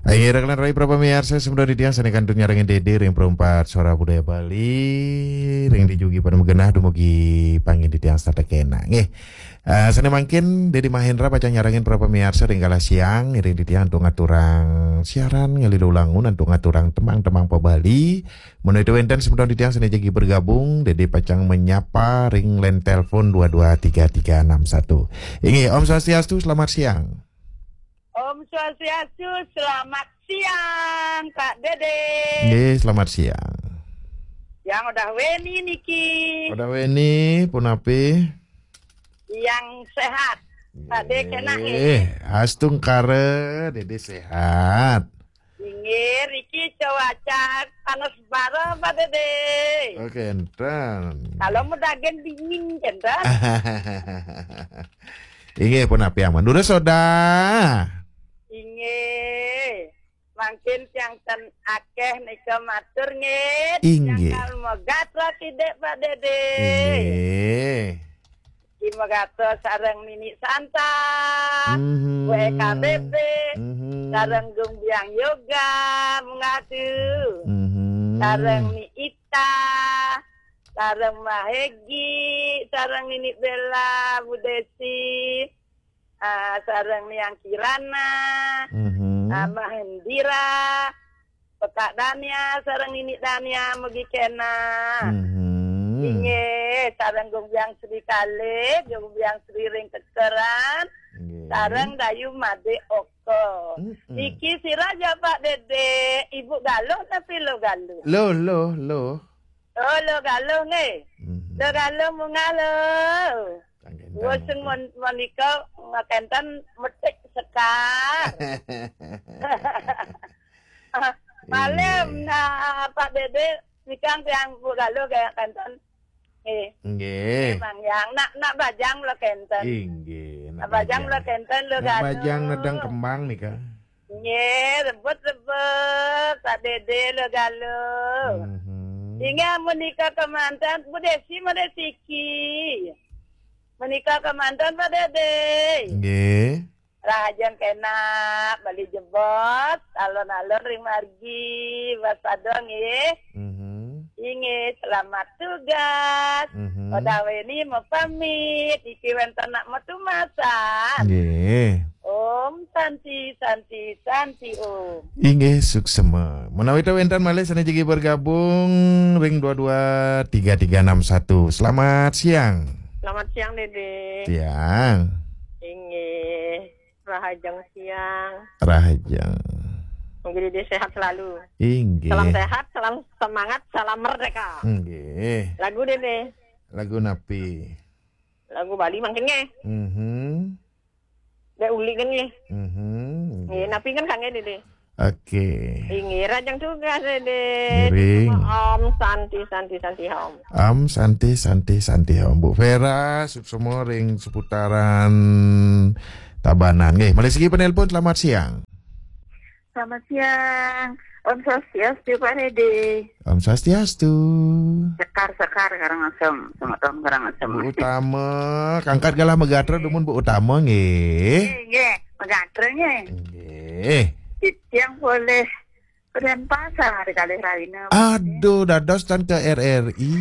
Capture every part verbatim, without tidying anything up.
Ayo, rekan rai para pamiarsa, semeton titiang sane kantun nyarengin Dede ring Perumpat Suara Budaya Bali, ring dijugi pada magenah dumugi pangin titiang setata kena. Nggih. Eh, sane mangkin Dede Mahendra pacang nyarengin para pamiarsa ring galah siang, ngiring titiang antuk ngaturang siaran ngalih lulangun antuk ngaturang tembang-tembang pa Bali. Menawi wenten semeton titiang sane jagi bergabung, Dede pacang menyapa ring line telepon dua dua tiga tiga enam satu. Inggih, Om Swastiastu, selamat siang. Om Swastiastu, selamat siang, Kak Dede. Nggih, selamat siang. Yang udah weni niki. Udah weni, punapi? Yang sehat. Kak Dede kena nggih. Nggih, astungkara, Dede sehat. Inggih, iki cuaca panas bara, Pak Dede. Oke, enten. Kalau mau dagen dingin, enten. Inggih, punapi aman. Durus soda. Inggih. Mangkin tiang ten akeh nika matur nggih. Inggih. Tiang kal megatra kidik, Pak Dede. Inggih. Ki megatra sareng Nini Santa, Mhm. W K B B, Mhm. sareng Gumbiang Yoga, mengadu. Mhm. Sareng Ni Ita, sareng Mbak Hegi, sareng Nini Bella, Bu Desi, ah, sareng Niang Kirana, Mhm. ah, Mbak Hendira, Pekak Dania, sareng Nini Dania, mugi kena. Mhm. Inggih, sareng Gumbiang Sri Kalih, Gumbiang Sri ring Kekeran, Nggih. sareng Dayu Made Oko. Mm-mm. Niki sira ya, Pak Dede, Ibu Galuh tapi Lo Galuh? Lo, lo, lo. Oh, Lo Galuh nggih. Mhm. Lo Galuh munggah lo. Kangge Wes entang. Mon-, menika ngakenten metik sekar. Malem, Inggih. nah, Pak Dede, nikang tiang Bu Galuh kaya kenten. Eh, Nggih. Bang Yang, nak, nak bajang lo kenten. Inggih, nak Nak bajang bajang. lo kenten, Lo Nak Galuh. bajang nedang kembang nika. Nggih, rebut-rebut, Pak Dede, Lo Galuh. Mhm. Inggih, menika kemanten, Bu Desi, Bu Desi ki. Menika kemanten, Pak Dede. Nggih. Rahajeng kena, Bali jebos, alon-alon ring margi, waspada nggih. Mhm. Inggih, selamat tugas. Mhm. Odah weni mapamit, iki wenten nak matumasan. Nggih. Om Santi, Santi, Santi Om. Inggih, suksema. Menawi ta wenten malih sane jagi bergabung ring dua dua tiga tiga enam satu. Selamat siang. Selamat siang, Dede. Siang. Inggih. Rahajeng siang. Rahajeng. Mugi Dede sehat selalu. Inggih. Salam sehat, salam semangat, salam merdeka. Inggih. Lagu Dede. Lagu napi? Lagu Bali mangkin nggih. Mhm. Dek uli kan nggih. Mhm. Nggih, napi kan kangge Dede. Oke. Inggih, rahajeng tugas Dede. Ngiring. Om Santi, Santi, Santi Om. Om Santi, Santi, Santi Om. Bu Vera, suksema ring seputaran Tabanan. Nggih, malih siki penelpon, selamat siang. Selamat siang. Om Swastiastu, Pak Dede. Om Swastiastu. Sekar, Sekar, Karangasem. Selamat tahun Karangasem. Bu Utama, kangkat galah megatra dumun Bu Utama, nggih. Nggih, nggih. Megatra, nggih. Nggih. Titiang polih Denpasar kalih rahina. Aduh, dados tan ke R R I.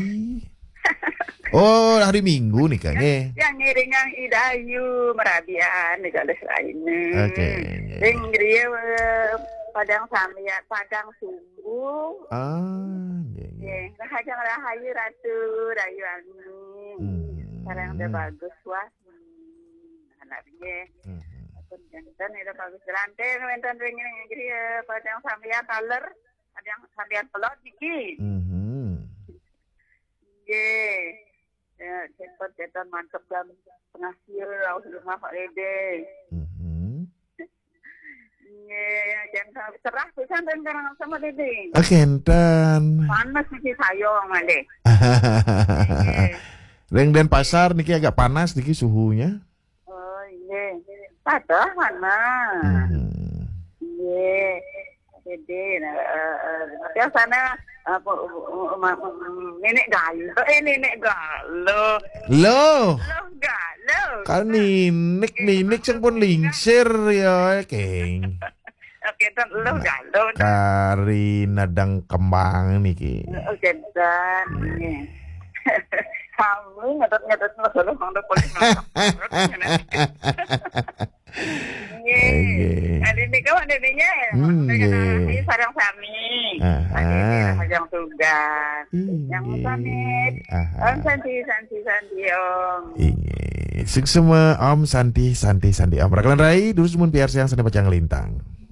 Oh, hari Minggu nika, nggih. Yang ngiringang Idayu merabian di kalih rahina. Oke, nggih. Ring griya, eh, Padang Sambian, Padang Sunggu. Ah, nggih, nggih. Nggih, rahajeng rahayu Ratu, rahayu Ani. Hmm. Sekarang udah bagus, wah. Hmm, anak nggih. Mhm. Pun janten ida bagus gelanten wenten ring, ring griya, eh, Padang Sambian taler, Padang Sambian pelod niki. Mhm. Nggih. Ya, cepet, cepet mantep dan penghasil, aus rumah Pak Dede. Mhm. Nggih, jan cerah pisan ring Karangasem Dede. Ah, kenten. Panas niki sayong, Dede. Nggih. Ring Denpasar niki agak panas niki suhunya. Oh, nggih. Padah mana? Mhm. Nggih. Dede, nah, eh, eh, biasanya, eh, pu-, pu-, ma-, mm, Nenek Galuh, eh, Nenek Galuh. Loh. Loh, Galuh. Kan Ninik, Ninik sing pun lingsir ya, Keng. Oke, ten lu galau. Kari nedeng kembang niki. Oke, dan ini. Kami ngedet-ngedet ngedet ngedet polisi. Nggih. Kali ini kawan dene ya. Hmm, nggih. Ini sareng sami. Aha. Yang tugas. Yang Inggih. Pamit. Aha. Om Santi, Santi, Santi, Om. Inggih. Suksma Om Santi, Santi, Santi Om. Rakalan rai, durus mun piarsayang sané pacang lintang.